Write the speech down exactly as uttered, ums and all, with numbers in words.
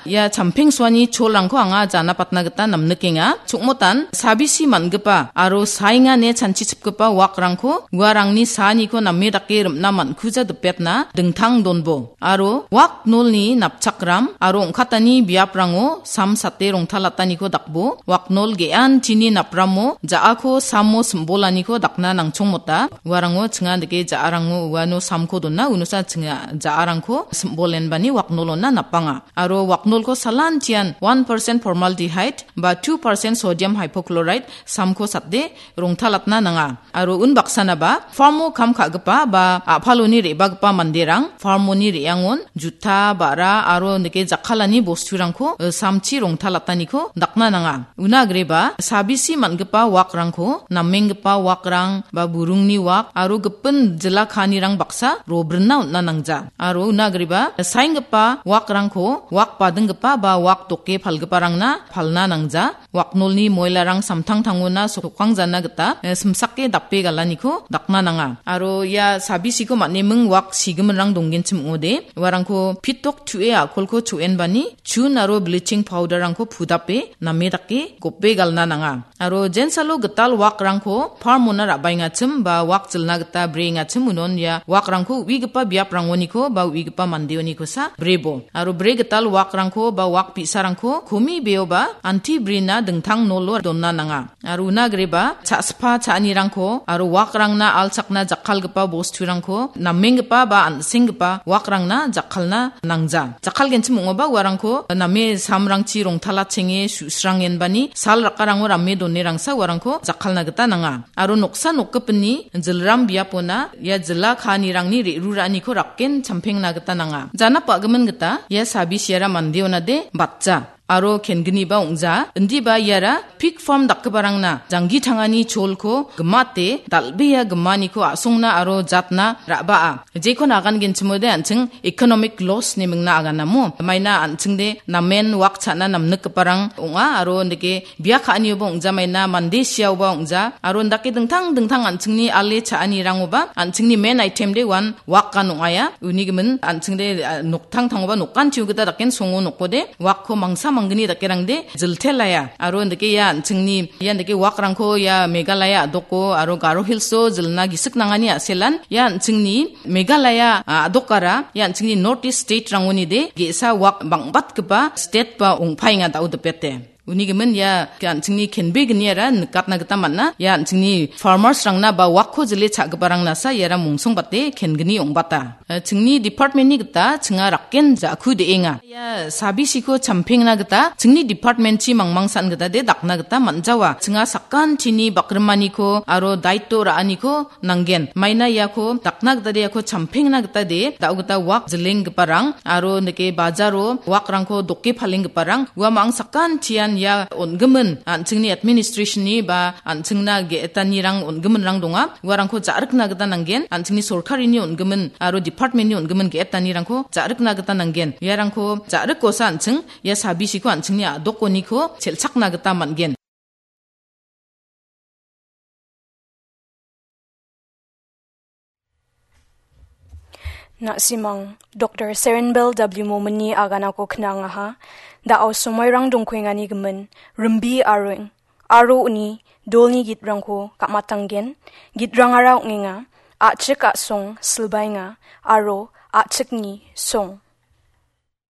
Ia champengsoani cholrangko anga janapatna gita namnikenga. Chokmotan sabisi man·gipa aro saengane chanchichipgipa wakrangko uarangni saaniko name dake rim·na man·kuja dipetna dingtang donbo. Aro waknolni napchakram aro ong·katani biaprango sam sate rongtalataniko dakbo. Waknol ge·antini napramo ja·ako samo simbolaniko dakna nangchongmota. Uarango chinga dike ja·arango uano samko dona, unosa chinga ja·arangko simbolenbani waknolona napanga. Aro waknolko salantian one percent formaldehyde ba two percent sodium hypochlorite samko sate rongtalatna nanga. Aro unbaksanaba farmo kam ka·gipa ba a·paloni re·bagipa manderang farmoni re·angon juta, ba·ra aro nike jakkalani bosturangko, eh, samchi rongtalataniko dakna nanga. Una agreba sabisi man·gipa wakrangko, namenggipa wakrang ba burungni wak aro gipin jila kaanirang baksa robrinna on·na nangja. Aro una agreba saenggipa wakrangko, wak badinggipa ba wak doke palgiparangna palna nangja. Waknolni moilarang samtangtangona sokkangjana gita, eh, simsake dape galaniko dakna nanga. Aro ia sabisiko man·eming wak sigiminrang donggenchim ong·ode, uarangko pitok tu·e a·kolko cho·enbani chun aro bleaching powder-rangko pudape name dake gope galna nanga. Aro jensalo gital wakrangko farmona ra·baengachim ba wak jilna gita breengachim unon ia wakrangko uigipa biaprangoniko ba uigipa mandeonikosa brebo. Aro bre gital wakrangko ba wak bi·sarangko komi beoba anti brina dingtang nolo donna nanga. Aro una agreba cha·spa cha·anirangko aro wakrangna alchakna jakkalgipa bosturangko namenggipa ba an·senggipa wakrangna jakkalna nangja. Jakkalgenchim ong·oba uarangko name samrangchi rongtalachenge su·srangenbani sal rakarango rame donerangsa uarangko jakkalna gita nanga. Aro noksa nokgipinni jilram biapona ia jila kaanirangni re·ruraaniko rakken champengna gita nanga. Janap ba·gimin gita ia sabisiara mandeonade batja aro kenginiba ong·ja. Indiba iara pig farm dakgiparangna janggi tangani cholko gimate dal·bea gimaniko a·songna aro jatna ra·baa. Jekon agangenchimode an·ching economic loss-ni mingna aganamo. Maina an·chingde namen wak cha·na namnikgiparang ong·a aro indike bia ka·anioba ong·jamaina, mande siaoba ong·ja, aro indake dingtang dingtang an·chingni ale cha·anirangoba an·chingni main item de uan wakan ong·aia. Unigimin an·chingde, ah, noktangtangoba nokan tiu gita daken songo nokode wakko mangsa manggni dakerangde jiltelaia. Aro indake ia an·chingni, ia indake wakrangko ia Meghalaya a·doko aro Garo Hills-o jilna gisik nangani a·selan ia an·chingni Meghalaya, ah, a·dokara ia an·chingni North East state-rangonide ge·sa wak bang·batgipa state ba ong·paenga da·o dipete. Unigimin ia an·chingni kenbegniara nikatna gita man·a. Ia an·chingni farmers-rangna ba wakko jile cha·giparangnasa iara mongsongbate kengini ong·bata. Eh, chingni department-ni gita chinga rakken ja·ku de·enga. Ia sabisiko champengna gita chingni department-chi mangmangsan gita de dakna gita man·jawa. Chinga sakantini bakrimaniko aro daito ra·aniko nanggen. Maina iako dakna gita de iako champengna gita de, da·o gita wak jilenggiparang aro nike bajaro wakrangko doke palenggiparang uamang sakantian ia on·gimin an·chingni administration-ni ba an·chingna ge·etanirang on·giminrang donga. Uarangko ja·rikna gita nanggen, an·chingni sorkarini on·gimin aro department-ni on·gimin ge·etanirangko ja·rikna gita nanggen. Iarangko ja·rikosa an·ching ia sabisiko an·chingni a·dokoniko chelchakna gita man·gen. Na·simang, Doktor Serenbel W Mominni aganako knangaha, da·o somoirang dongkuengani gimin, rimbi aro, aro uni dolni gitrangko ka·matanggen, gitrangara ong·enga, A·chik a·song silbaenga, aro a·chikni song.